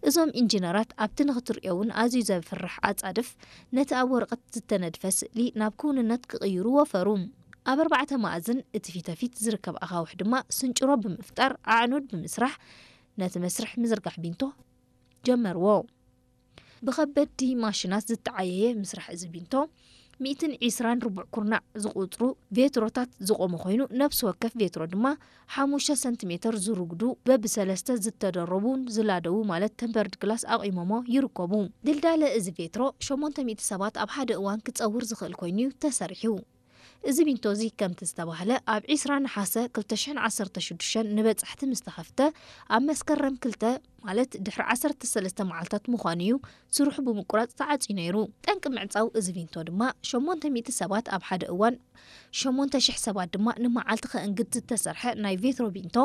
እዞም ኢንጂነራት ኣብቲ ንኽትርእዮ እውን ኣዝዩ ዘፍርሕ ኣጻድፍ ነቲ ኣብ ወረቐት ዝተነድፈ ስእሊ ናብ ክውንነት ክቕይሩ ወፈሩ። ኣብ ኣርባዕተ መኣዝን እቲ ፊተፊት ዝርከብ ኣኻውሕ ድማ ስንጭሮ ብምፍጣር ኣዕኑድ ብምስራሕ ነቲ መስርሕ ምዝርጋሕ ቢንቶ ጀመርዎ። ብኸበድቲ ማሽናት ዝተዓየየ ምስራሕ እዚ ቢንቶ ሚእትን ዕስራን ርቡዕ ኩርናዕ ዝቑጽሩ ቬትሮታት ዝቖመ ኮይኑ፣ ነፍሲ ወከፍ ቬትሮ ድማ ሓሙሽተ ሰንቲሜተር ዝርጉዱ በብሰለስተ ዝተደረቡን ዝላደዉ ማለት ተምፐርድ ግላስ ኣቑሞሞ ይርከቡ። ድልዳለ እዚ ቬትሮ ሸሞንተ ሚእቲ ሰባት ኣብ ሓደ እዋን ክጸውር ዝኽእል ኮይኑ እዩ ተሰሪሑ። እዚ ቢንቶ እዚ ከምቲ ዝተባህለ ኣብ ዕስራ ነሓሰ ክልተ ሽሕን ዓሰርተ ሽዱሽተን ንበጻሕቲ ምስ ተኸፍተ ኣብ መስከረም ክልተ ማለት ድሕሪ ዓሰርተ ሰለስተ መዓልታት ምዃኑ እዩ ስርሑ ብምቁራጽ ተዓጽዩ ነይሩ። ጠንቂ ምዕጻው እዚ ቢንቶ ድማ ሸሞንተ ሚእቲ ሰባት ኣብ ሓደ እዋን ሸሞንተ ሽሕ ሰባት ድማ ንመዓልቲ ከእንግድ ዝተሰርሐ ናይ ቬትሮ ቢንቶ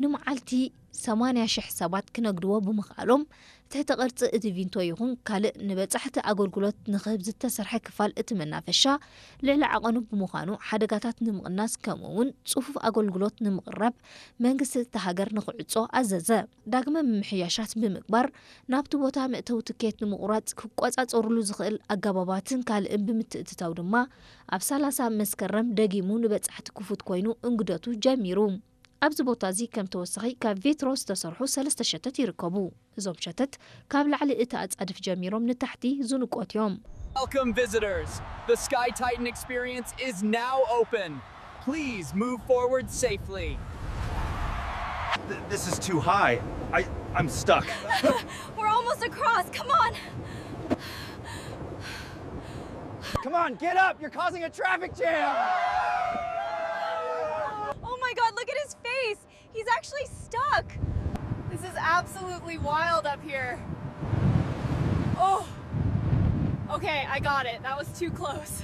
ንመዓልቲ ሰማንያ ሽሕ ሰባት ክነግድዎ ብምኽኣሎም ትሕተ ቅርጺ እቲ ቪንቶ ይኹን ካልእ ንበጻሕቲ ኣገልግሎት ንኽህብ ዝተሰርሐ ክፋል እቲ መናፈሻ ልዕሊ ዓቐኑ ብምዃኑ ሓደጋታት ንምቕናስ ከምኡ እውን ጽፉፍ ኣገልግሎት ንምቕራብ መንግስቲ እታ ሃገር ንኽዕጾ ኣዘዘ። ዳግመ ምምሕያሻት ብምግባር ናብቲ ቦታ መእተዊ ትኬት ንምቑራጽ ክቆጻጸሩሉ ዝኽእል ኣገባባትን ካልእን ብምትእትታው ድማ ኣብ ሰላሳ መስከረም ደጊሙ ንበጻሕቲ ክፉት ኮይኑ እንግደቱ ጀሚሩ። ኣብዚ ቦታ እዚ ከም ተወሳኺ ካብ ቬትሮ ዝተሰርሑ ሰለስተ ሸተት ይርከቡ። እዞም ሸተት ካብ ላዕሊ እቲ ኣጻድፍ ጀሚሮም ንታሕቲ ዝንቆት እዮም። Welcome, visitors. The Sky Titan experience is now open. Please move forward safely. Th- This is too high. I, I'm stuck. We're almost across. Come on. Come on, get up! You're causing a traffic jam! Oh my god, look at his face. He's actually stuck. This is absolutely wild up here. Oh. Okay, I got it. That was too close.